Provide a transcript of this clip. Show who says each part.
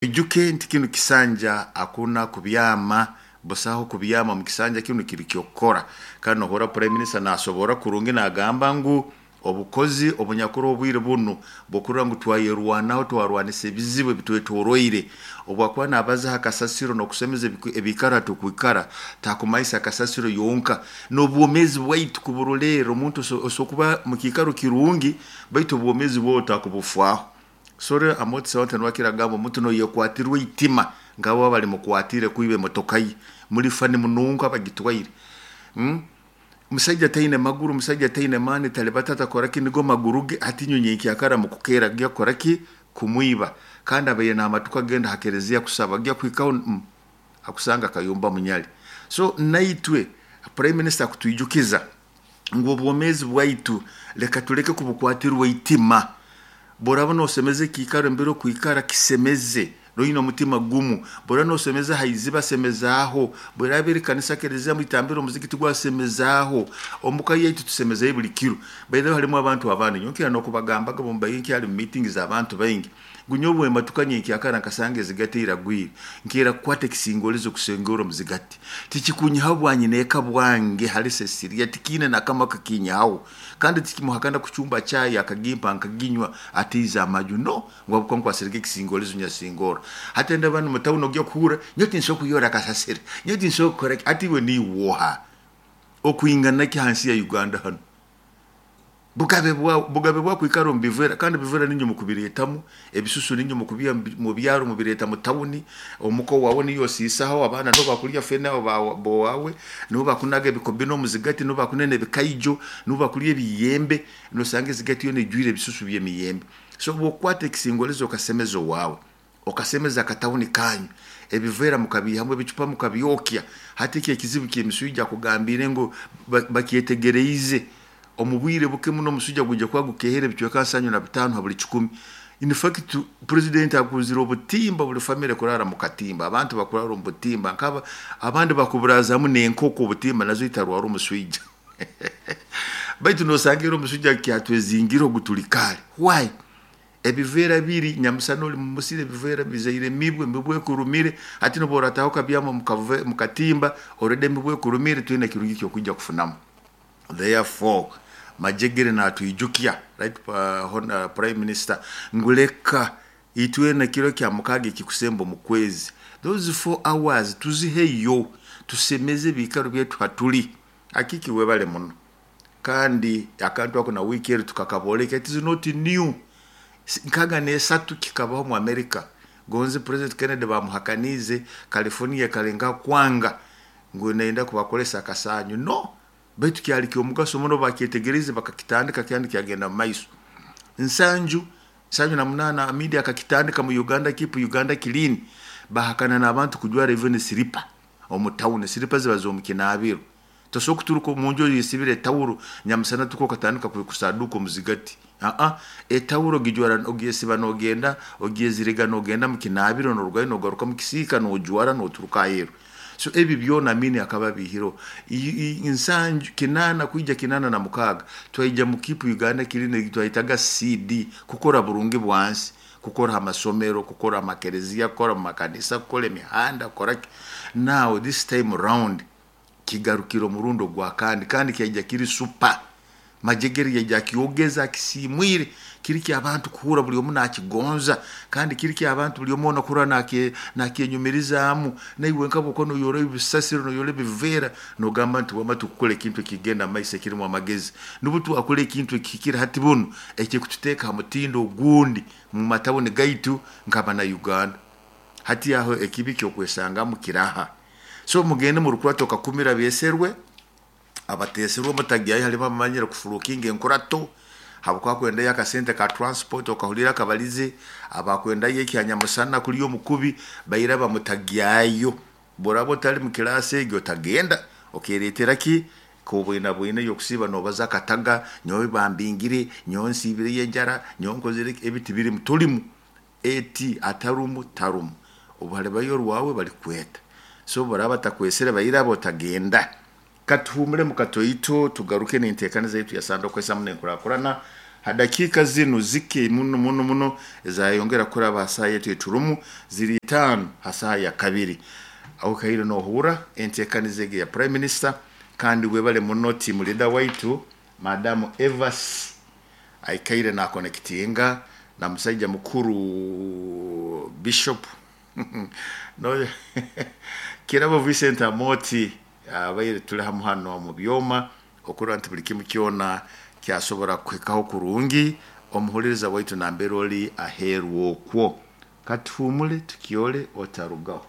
Speaker 1: Ijuke nti kinu kisanja hakuna kubyama, busaho kubyama mu kisanja kinu kiri kyokukora. Kandi nohurra Prime Minister nasobora kurungi nagamba ngu obukozi obunyakuri obwire bunu bwokurora ngu twayerwanaho, twarwanisa ebizibu ebitwetoroire. Obu akuba nabaza ha kasasiro n'okusemeza ebiikaro hatukwikara, takumanyisa kasasiro yonka, n'obwomeezi bwaitu kuburolerra. Omuntu osobola kuba mu kiikaro kirungi baitu obwomeezi bwawe otakubufaaho. Sore Amooti Sawante nuwe akira kugamba omuntu noyekwatirwa eitima nk'abo abalimukwatire kwiba emotoka ye, mulifa nimununka bagitwaire. Omusaija taine maguru, omusaija taine maani, talibata, takora ki, nigo maguru ge, hati inywe nyenkyakara mukukeera kugya kukora ki? Kumwiba. Kandi abaire n'amatuka kugenda ha kereziya kusaba, agya kuhikaho akusanga akayumba munyali. So naitwe Prime Minister akutwijukiza ngu obwomeezi bwaitu leka tuleke kubukwatirwa eitima. Bworaba nosemeza ekiikaro embere okwikara, kisemeze oine omutima gumu. Bworaba nosemeza ha iziba, semezaaho. Bweraba eri kanisa, kereziya, mwitambiro, omuzigiti gwawe, semezaaho. Omuka yaitu tusemezeyo buli kiro. By the way harimu abantu abandi, nyowe nkira n'okubagambaga obu mbaire nkyali mu meeting z'abantu baingi, ngu nyowe bwembatuka nyenkyakara nkasanga ezigati eragwire, nkeera kukwata ekisingolizo kusingora omuzigati. Tikikunyihaho bwanyineeka bwange hali Cecilia, tikiine n'akamo akakinyihaho. Kandi tikimuhakana kucumba chai akagimpa nkaginywa atiize amaju, no! Ngu habwokuba nkwasirege ekisingolizo nyasingorra. Hati ndaba mu tawuni ogya kuhurra, nyowe tinsobora kuyora kasasiro, nyowe tinsobora kukora ki, hati iwe niiwe oha? Okwingana ki hansi ya Uganda hanu? Bugabe bwawe, bugabe bwawe kwikara omu biveera, kandi ebiveera niinywe mukubireetamu, ebisusu niinywe mukubiiha mu byaro mubireeta mu tawuni, omuka owaawe niyo osiisaho, abaana nibo bakulya fene b'owaawe, nibo bakunaga ebikobi n'omuzigati, nibo bakunena ebikaijo, nibo bakulya ebiyembe, nosanga ezigati yoona ijwire ebisusu by'emiyembe. So obu okukwata ekisingolizo okasemeza owaawe, okasemeza akatawuni kanyu, ebiveera mukabiihamu, ebicupa mukabyokya, hati eki ekizibu ky'emiswija akugambiire ngu bakyetegereize, omu bwire buke muno omuswija gwija kuba gukehere ebicweka 75 ha buli 100. In fact president aguzire obutimba, buli famire kurara mu katimba, abantu bakurara omu butimba, nkaba abandi bakuburazaamu n'enkoko obutimba nazo itarwara omuswija. Baitu nosanga era omuswija kyatwezingire ogu tuli kare. Why? Ebiveera biri nyamusana oli mu musiri, ebiveera bizaire emibwa, emibwa ekurumire, hati n'obu orataaha okabyama omu katimba, already emibwa ekurumire, toine kirungi ky'okwija kufunamu. Therefore, Majegere natwijukya, right Prime Minister, ngu leka itwena ekiro kya mukaaga ekikusemba omu kwezi, those 4 hours tuziheyo, tusemeze ebiikaro byaitu hatuli. Akiki webale muno. Kandi akantu ako na wiiki eri tukakabooleka, it is not new. 63 kikabaho mu America. Gonzi President Kennedy bamuhakaniize, California ekalengaho kwanga ngu neyenda kubakolesa akasanyu. No! Baitu kyali ky'omugaso muno bakyetegeriize bakakitandika kandi kyagenda mu maiso. 78 Amidi akakitandika mu Uganda Keep Uganda Clean, bahakana n'abantu kujwara even siripa omu tawuni, siripa ziba z'omu kinaabiro. Tosobora kuturuka omu nju oyesibire etawuro nyamusana tuka okatandika kusaduka omuzigati. Aa, etawuro ogijwara ogyesiba nogenda, ogyeziriga nogenda mu kinaabiro norugayo nogaruka mu kisiika nojwara noturuka aheeru. So ebi byona Amini akaba abiihireho. 80 kwija 86 twaija mu Keep Uganda Clean twayetaga CD, kukora burungi bwansi, kukora amasomero, kukora amakereziya, kukora mu makanisa, kukora emihanda, kukora ki. Now this time round kigarukire omurundi ogwa kandi, kandi kyaija kiri super. Majegere yaija akyogeza akisiimwire, kiri ky'abantu kuhurra buli omu nakigonza, kandi kiri ky'abantu buli omu ona kuhurra nakyenyumirizaamu. Naiwe nka bw'okuba noyora ebisasiro, noyora ebiveera, nogamba nti wama tukukora ekintu ekigenda mu maiso ekirimu amagezi. Nubwo twakora ekintu ekihikire hati bunu, ekikututeeka ha mutindo ogundi mu matawuni gaitu nk'abana Uganda. Hati aho ekibi ky'okwesangamu kiraha. So mugende murukurata okakumira abeeserwe, abateeserwe mutagyayo halimu abamanyire kufurukinga enkurato, habwokuba akwendayo akasente ka transport okahulira akabalize, abakwendayo ekyanyamusana kulya omukubi, baira bamutagyayo. Bworaba otali mu kilaasi egyo otagenda, okeeretera ki? Kobwinabwina ey'okusiiba nobaza akataga, nyowe bambingire, nyowe nsiibireyo enjara, nyowe nkozire ki, ebi tibirimu, tolimu. Eti atarumu tarumu, obu halibayo orwawe balikweta. So obu baraaba batakwesere bairaba otagenda. Katuhuumulemu katoito tugaruke n'enteekaniza yaitu ya Sande Okwesamu n'Enkurakurana. Ha dakiika zinu zike muno muno muno ezayongera kuraba ha saaha yetu eturumu ziri 5 ha saaha ya 2. Okaire nohurra enteekaniza egi ya Prime Minister, kandi webale muno team leader waitu Madamu Evas aikaire nakonekitinga na musaija mukuru Bishop no Kirabo Vincent Amoti abaire tuli hamu hano omu byoma okurora nti buli kimu kyona kyasobora kuhikaho kurungi omuhuliriza waitu nambere oli aheeru okwo. Katuhumule tukyole otarugaho.